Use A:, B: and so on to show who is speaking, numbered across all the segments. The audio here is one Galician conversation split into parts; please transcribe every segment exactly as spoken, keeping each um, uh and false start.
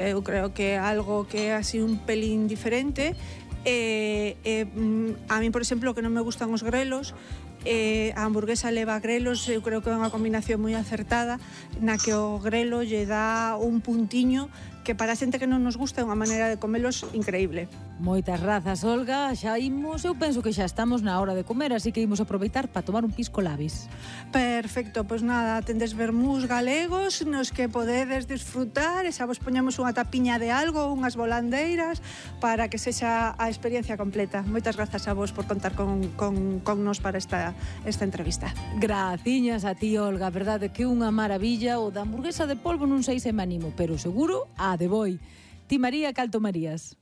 A: Eu creo que é algo que é así un pelín diferente. Eh, eh, a mí, por exemplo, que non me gustan os grelos, eh, a hamburguesa leva grelos, eu creo que é unha combinación moi acertada, na que o grelo lle dá un puntiño que para a xente que non nos gusta é unha maneira de comelos increíble.
B: Moitas razas, Olga, xa imos, eu penso que xa estamos na hora de comer, así que imos aproveitar para tomar un pisco labis.
A: Perfecto, pois nada, tendes vermús galegos nos que podedes disfrutar, e xa vos poñemos unha tapiña de algo, unhas volandeiras, para que sexa a experiencia completa. Moitas grazas a vos por contar con, con, con nos para esta, esta entrevista.
B: Graciñas a ti, Olga, verdade que unha maravilla. O da hamburguesa de polvo non sei se me animo, pero seguro a de boi. Ti, María, cal tomarías?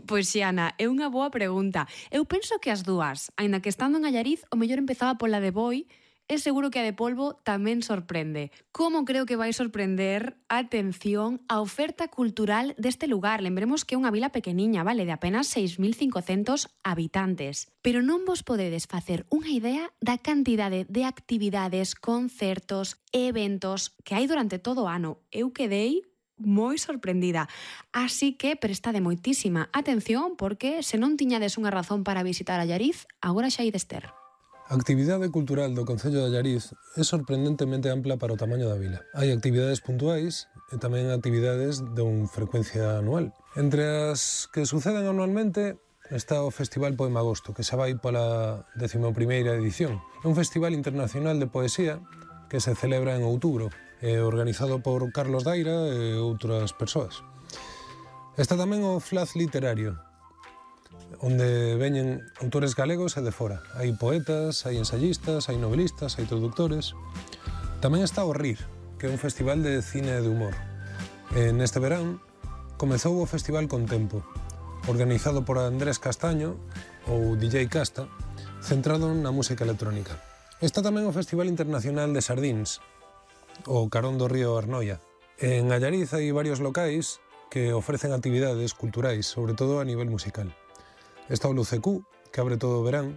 C: Pois, Xiana, é unha boa pregunta. Eu penso que as dúas, aínda que estando en Allariz, o mellor empezaba pola de boi, e seguro que a de polvo tamén sorprende. Como creo que vai sorprender, atención, a oferta cultural deste lugar. Lembremos que é unha vila pequeniña, vale, de apenas seis mil cincocentos habitantes. Pero non vos podedes facer unha idea da cantidade de actividades, concertos, eventos que hai durante todo o ano. Eu quedei moi sorprendida. Así que prestade moitísima atención, porque se non tiñades unha razón para visitar Allariz, agora xa ides ter.
D: A actividade cultural do Concello de Allariz é sorprendentemente ampla para o tamaño da vila. Hai actividades puntuais e tamén actividades con frecuencia anual. Entre as que suceden anualmente está o Festival Poema Agosto, que xa vai pola décima primeira edición. É un festival internacional de poesía que se celebra en outubro, é organizado por Carlos Daira e outras persoas. Está tamén o Flaz Literario, onde veñen autores galegos e de fora. Hai poetas, hai ensayistas, hai novelistas, hai traductores. Tamén está o RIR, que é un festival de cine e de humor. E neste verán comezou o Festival Contempo, organizado por Andrés Castaño, ou D J Casta, centrado na música electrónica. Está tamén o Festival Internacional de Sardíns, o Carón do Río Arnoia. En Allariz hai varios locais que ofrecen actividades culturais, sobre todo a nivel musical. Está o Lucecú, que abre todo o verán,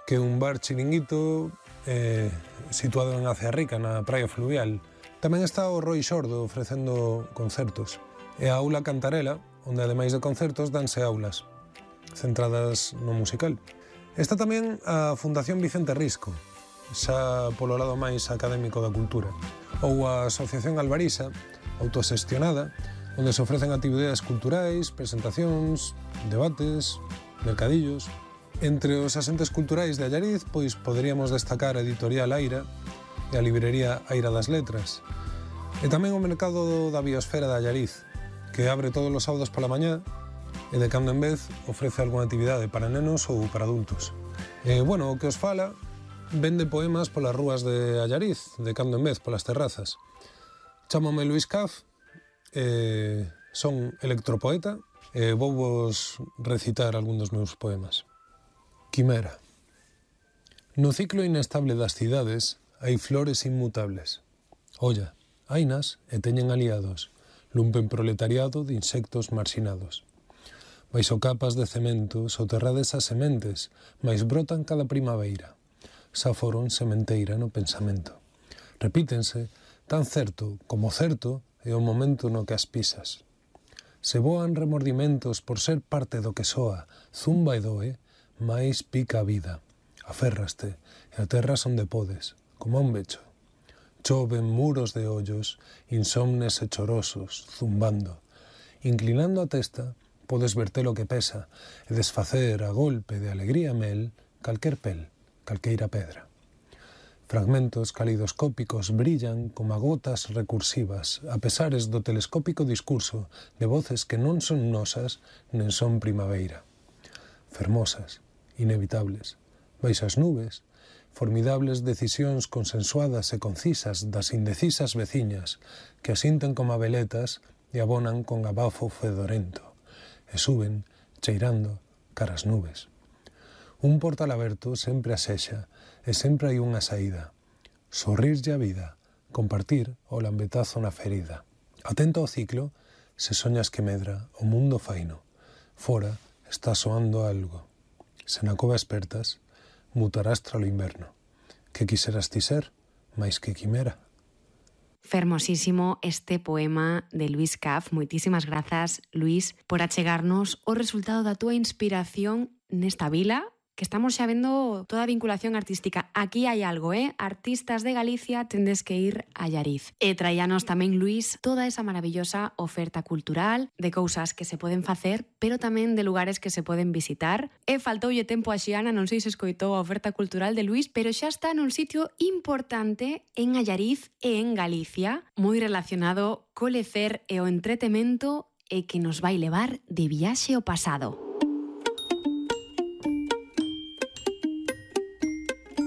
D: que é un bar chiringuito eh, situado en Acea Rica, na praia fluvial. Tamén está o Roi Xordo ofrecendo concertos. E a Aula Cantarela, onde ademais de concertos danse aulas, centradas no musical. Está tamén a Fundación Vicente Risco, xa polo lado máis académico da cultura. Ou a Asociación Albarisa, autoxestionada, onde se ofrecen actividades culturais, presentacións, debates, mercadillos. Entre os asentes culturais de Allariz, pois poderíamos destacar a Editorial Aira e a librería Aira das Letras. E tamén o mercado da biosfera de Allariz, que abre todos os sábados pola mañá e de cando en vez ofrece algunha actividade para nenos ou para adultos. E, bueno, o que os fala vende poemas polas rúas de Allariz, de cando en vez, polas terrazas. Chámome Luís Caf, eh, son electropoeta, e eh, vou vos recitar algún dos meus poemas. Quimera. No ciclo inestable das cidades hai flores inmutables. Olla, hainas e teñen aliados, lumpen proletariado de insectos marxinados. Baixo capas de cemento, soterrades as sementes, mais brotan cada primaveira. Xa foron sementeira no pensamento. Repítense, tan certo como certo é o momento no que as pisas. Se voan remordimentos por ser parte do que soa, zumba e doe, máis pica a vida. Aférraste e aterras onde podes, como un becho. Choven muros de ollos, insomnes e chorosos, zumbando. Inclinando a testa, podes verte lo que pesa e desfacer a golpe de alegría mel calquer pel, calqueira pedra. Fragmentos calidoscópicos brillan como gotas recursivas a pesares do telescópico discurso de voces que non son nosas nen son primaveira. Fermosas, inevitables, baixas nubes, formidables decisións consensuadas e concisas das indecisas veciñas que asinten como veletas e abonan con abafo fedorento e suben, cheirando, caras nubes. Un portal aberto sempre asexa e sempre hai unha saída. Sorrirlle a vida, compartir o lambetazo na ferida. Atento ao ciclo, se soñas que medra o mundo faino. Fora está soando algo. Se na cova espertas, mutarás tralo inverno. Que quiseras ti ser, máis que quimera?
C: Fermosísimo este poema de Luís Caf. Moitísimas grazas, Luís, por achegarnos o resultado da túa inspiración nesta vila, que estamos xa vendo toda a vinculación artística. Aquí hai algo, eh? Artistas de Galicia, tendes que ir a Allariz. E traíanos tamén, Luís, toda esa maravillosa oferta cultural de cousas que se poden facer, pero tamén de lugares que se poden visitar. E faltoulle tempo a Xiana, non sei se escoitou a oferta cultural de Luís, pero xa está nun sitio importante en Allariz e en Galicia, moi relacionado co lecer e o entretemento e que nos vai levar de viaxe ao pasado.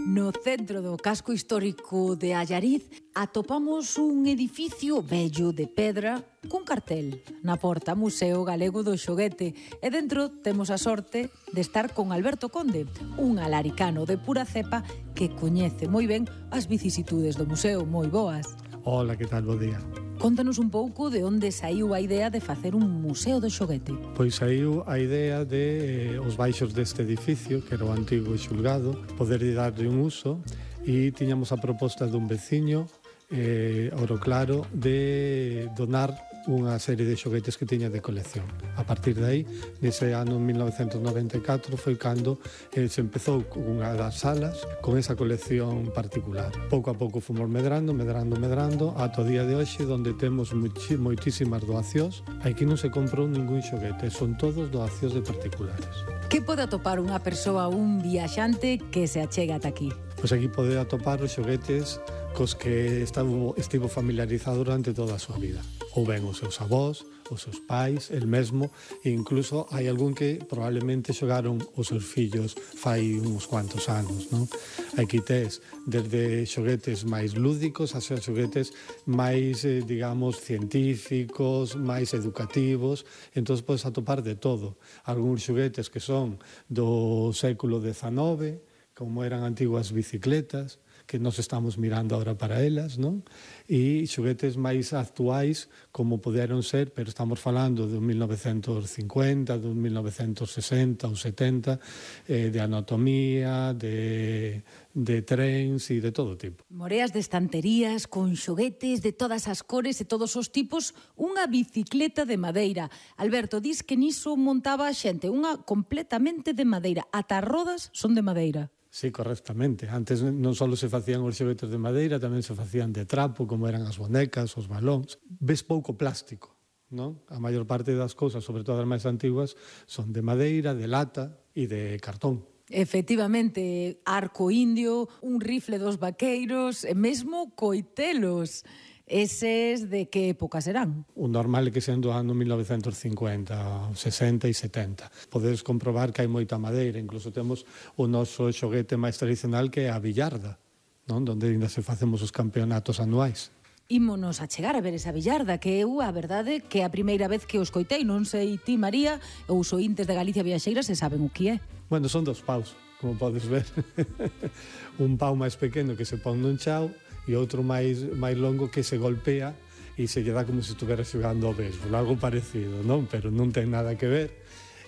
B: No centro do casco histórico de Allariz atopamos un edificio bello de pedra con cartel na porta Museo Galego do Xoguete e dentro temos a sorte de estar con Alberto Conde, un alaricano de pura cepa que coñece moi ben as vicisitudes do museo. Moi boas.
E: Hola, que tal? Bo día.
B: Contanos un pouco de onde saiu a idea de facer un museo do xoguete.
E: Pois saiu a idea de eh, os baixos deste edificio, que era o antigo xulgado, poder darlle un uso, e tiñamos a proposta dun veciño, eh, Oro Claro, de donar unha serie de xoguetes que tiña de colección. A partir de aí, nese ano mil novecentos noventa e catro, foi cando eh, se empezou unha das salas con esa colección particular. Pouco a pouco fomos medrando, medrando, medrando, ata o día de hoxe, onde temos moitísimas doacións. Aquí non se comprou ningún xoguete, son todos doacións de particulares.
B: Que pode atopar unha persoa, un viaxante que se achega ata aquí?
E: Pois aquí pode atopar os xoguetes cos que estivo, estivo familiarizado durante toda a súa vida. Ou ben os seus avós, os seus pais, el mesmo, e incluso hai algún que probablemente xogaron os seus fillos fai uns cuantos anos, non? Aquí tes desde xoguetes máis lúdicos a xoguetes máis, eh, digamos, científicos, máis educativos, entón podes atopar de todo. Algúns xoguetes que son do século dezenove, como eran antiguas bicicletas, que nos estamos mirando ahora para elas, non? E xoguetes máis actuais, como poderon ser, pero estamos falando de mil novecentos cincuenta, de mil novecentos sesenta ou setenta, eh, de anatomía, de, de trens e de todo tipo.
B: Moreas de estanterías con xoguetes de todas as cores e todos os tipos, unha bicicleta de madeira. Alberto, dis que niso montaba a xente, unha completamente de madeira. Ata as rodas son de madeira.
E: Sí, correctamente. Antes non só se facían os xoguetes de madeira, tamén se facían de trapo, como eran as bonecas, os balóns. Ves pouco plástico, non? A maior parte das cousas, sobre todo as máis antiguas, son de madeira, de lata e de cartón.
B: Efectivamente, arco indio, un rifle dos vaqueiros e mesmo coitelos. Eses de que época serán?
E: O normal é que sean do ano mil novecentos cincuenta, sesenta e setenta. Podedes comprobar que hai moita madeira, incluso temos o noso xoguete máis tradicional que é a billarda, non? Donde ainda se facemos os campeonatos anuais.
B: Ímonos a chegar a ver esa billarda, que eu, a verdade, que é a primeira vez que os coitei, non sei ti, María, ou os ointes de Galicia Viaxeira se saben o que é.
E: Bueno, son dos paus, como podes ver. Un pau máis pequeno que se pon nun chao, e outro máis, máis longo que se golpea e se lle dá como se estuvera xogando ao béisbol, algo parecido, non? Pero non ten nada que ver,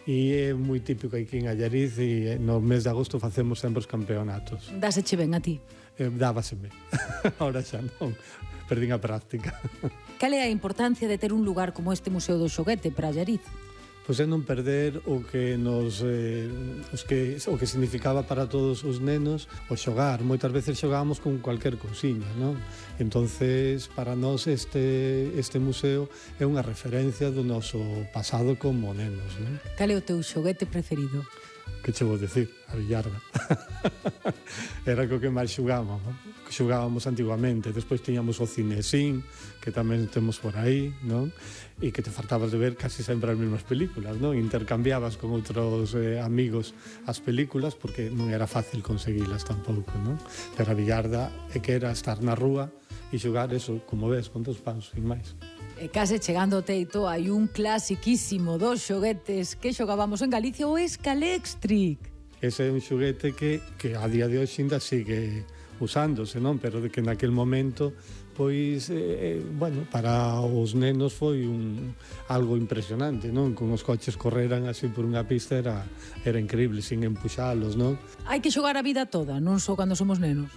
E: e é moi típico aquí en Allariz, e no mes de agosto facemos sempre os campeonatos.
B: Dáseche ben a ti?
E: Eh, dávaseme, ahora xa non, perdín a práctica.
B: Cal é a importancia de ter un lugar como este Museo do Xoguete para Allariz?
E: Pois é non perder o que nos eh, os que, o que significaba para todos os nenos o xogar. Moitas veces xogábamos con cualquier cousiña, non? Entonces, para nós este, este museo é unha referencia do noso pasado como nenos, non?
B: Cal é o teu xoguete preferido?
E: Que che vou dicir? A billarda. Era co que máis xugábamos, que xugábamos antiguamente. Despois tiñamos o cinesín, que tamén temos por aí, non? E que te fartabas de ver casi sempre as mesmas películas, non? Intercambiabas con outros eh, amigos as películas, porque non era fácil conseguilas tampouco, non? Pero a billarda é que era estar na rúa e xogar eso, como ves, con dos paus, sin máis.
B: E case chegando ao teito hai un clasiquísimo dos xoguetes que xogábamos en Galicia, o Escalextric.
E: Ese é un xoguete que, que a día de hoxe ainda sigue usándose, non? Pero de que naquel momento, pois, eh, bueno, para os nenos foi un, algo impresionante, non? Con os coches correran así por unha pista era, era increíble, sin empuxalos, non?
B: Hai que xogar a vida toda, non só cando somos nenos.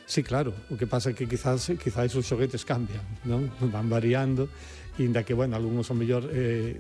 E: Sí, claro, o que pasa é que quizás, quizás os xoguetes cambian, non? Van variando, inda que, bueno, algúns son mellor eh,